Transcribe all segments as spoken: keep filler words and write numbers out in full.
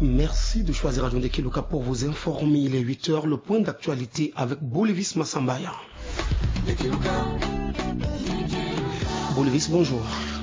Merci de choisir Radio Ndekeluka pour vous informer. Il est huit heures, le point d'actualité avec Bolivis Massambaya. Bolivis, bonjour.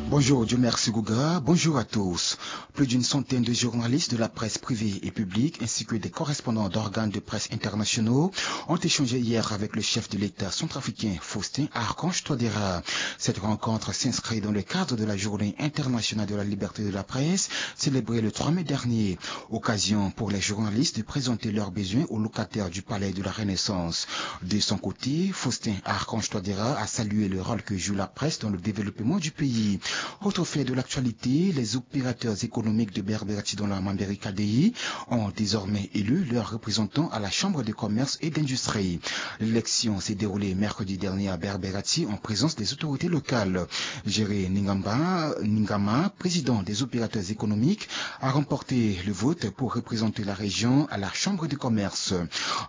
Bonjour, Dieu merci Gouga. Bonjour à tous. Plus d'une centaine de journalistes de la presse privée et publique, ainsi que des correspondants d'organes de presse internationaux, ont échangé hier avec le chef de l'État centrafricain, Faustin Archange Touadéra. Cette rencontre s'inscrit dans le cadre de la Journée internationale de la liberté de la presse, célébrée le trois mai dernier. Occasion pour les journalistes de présenter leurs besoins aux locataires du Palais de la Renaissance. De son côté, Faustin Archange Touadéra a salué le rôle que joue la presse dans le développement du pays. Autre fait de l'actualité, les opérateurs économiques de Berberaty dans la Mambéry K D I ont désormais élu leurs représentants à la Chambre de commerce et d'industrie. L'élection s'est déroulée mercredi dernier à Berberaty en présence des autorités locales. Géré Ningamba, Ningama, président des opérateurs économiques, a remporté le vote pour représenter la région à la Chambre de commerce.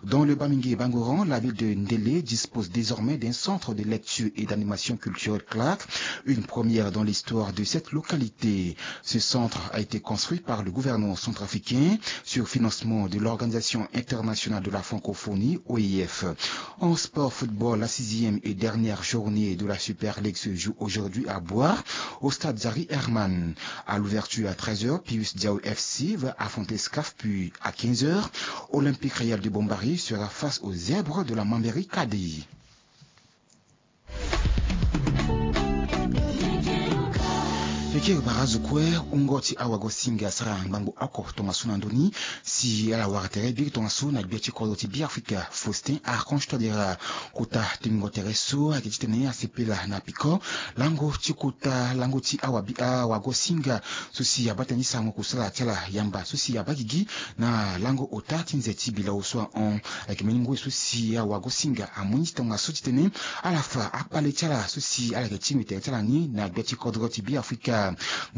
Dans le Bamingui Bangoran, la ville de Ndélé dispose désormais d'un centre de lecture et d'animation culturelle, CLAC, une première dans l'histoire de cette localité. Ce centre a été construit par le gouvernement centrafricain sur financement de l'Organisation internationale de la francophonie, O I F. En sport football, la sixième et dernière journée de la Super League se joue aujourd'hui à Bouar, au stade Zari Herman. À l'ouverture à treize heures, Pius Diao F C va affronter SCAF, puis à quinze heures, Olympique Royal de Bombari sera face aux Zèbres de la Mambéry K D I. Eke bara zo kue, wungo ti awagosinga asara ngbangbo oko tongaso na ndoni si ala wara tere biri tongaso na gbia ti kodro ti Beafrika, Faustin Archange Touadéra. Kota tengo tere so ayeke titene asepela na piko lango ti kota lango ti awa bi awagosinga so si abaa tënë ti sarango kusala ti ala yamba so si abaa gigi na lango ota ti nze ti bilao so ahon. Ayeke mbeni ngoi so si awagosinga amu ni ti tongaso titene ala fa akpale ti ala so si ala yeke tingbi tere ti ala ni na gbia ti kodro ti Beafrika.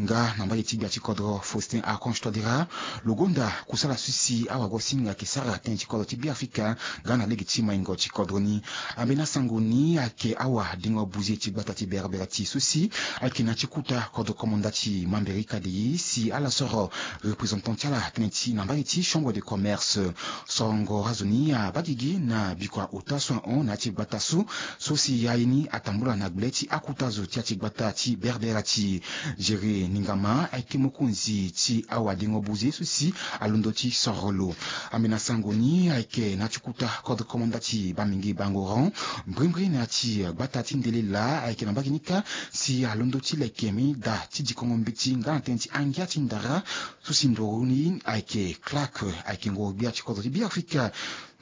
Nga na mbage ti gbia ti kodro Faustin Archange Touadéra, lo gonda kusala so si awagosinga ayeke sara tënë ti kodro ti Beafrika nga na lege ti maingo ti kodro ni. Ambeni asango ni ayeke awadengo buze ti gbata ti Berberaty so si ayeke na ya ti kota kodro komanda ti Mambéry K D I si ala soro représentant ti ala tënë ti na mbage ti chambre de commerce. Sorongo azo ni abaa gigi na bikua ota so ahon na ya ti gbata so, so si aye ni atambula na gbe ti akota zo ti ya ti gbata ti Berberaty. Géré Ningama ayeke mokonzi ti awadengo buze so si alondo ti soro lo. Ambeni asango ni ayeke na ya ti kota kodro komanda ti Bamingui Bangoran, mbrimbri na ya ti gbata ti Ndélé laa ayeke na mbage ni kâ si alondo ti leke mbeni da ti dikongo mbeti nga na tënë ti angia ti ndara so si nduru ni ayeke CLAC, ayeke ngoro-gbia ti kodro ti Beafrika.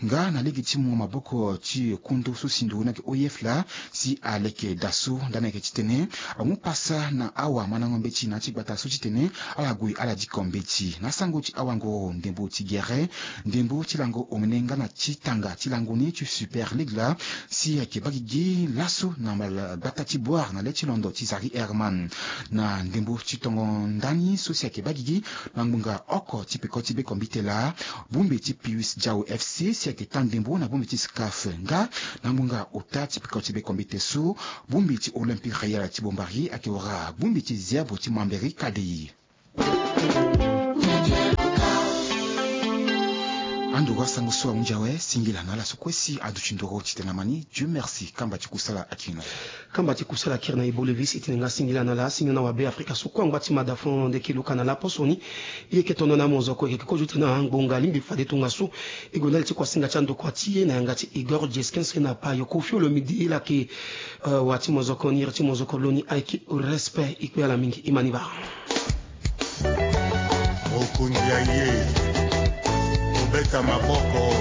Nga na lege ti mungo maboko ti kundu so si nduru ni ayeke O I F laa si aleke da so, ndani ayeke titene amu pasa na awamandango mbeti na ya ti gbata so titene ala gue ala diko mbeti. Na sango ti awangoro ndembo ti gere, ndembo ti lango omene nga na ti tanga ti lango ni ti Super League laa si ayeke baa gigi laso na gbata ti Bouar na le ti londo ti Zari Herman. Na ndembo ti tongo ndani so si ayeke baa gigi na ngbonga oko ti peko ti bekombite laa, bongbi ti Pius Diao F C si ayeke taa ndembo na bongbi ti SCAF, nga na ngbonga ota ti peko ti bekombite so, bongbi ti Olympique Royal ti Bombari ayeke wara bongbi ti Zèbre ti Mambéry K D I. Andoro asango so ahunzi awe, singila na ala so kue si aduti ndoro titene amani. Dieu merci, kamba ti kusala akiri na e. Kamba ti kusala akiri na e Bolivis, e tene nga singila na ala, singila na wabeafrika so kue angba ti mada fo ndeke luka na ala poso ni. E yeke tono na mozoko, e yeke kozo ti tene na ngbonga lingbi fade tongaso e gue ndali ti kuasinga ti andokua ti e na yanga ti Igor Jeskinski na Payo Koffi Olomide, e lake, eh, wa ti mozoko ni, iri ti mozoko lo ni ayeke respect. E kpe ala mingi, e ma ni baa. Mokonzi aye, kobeta maboko.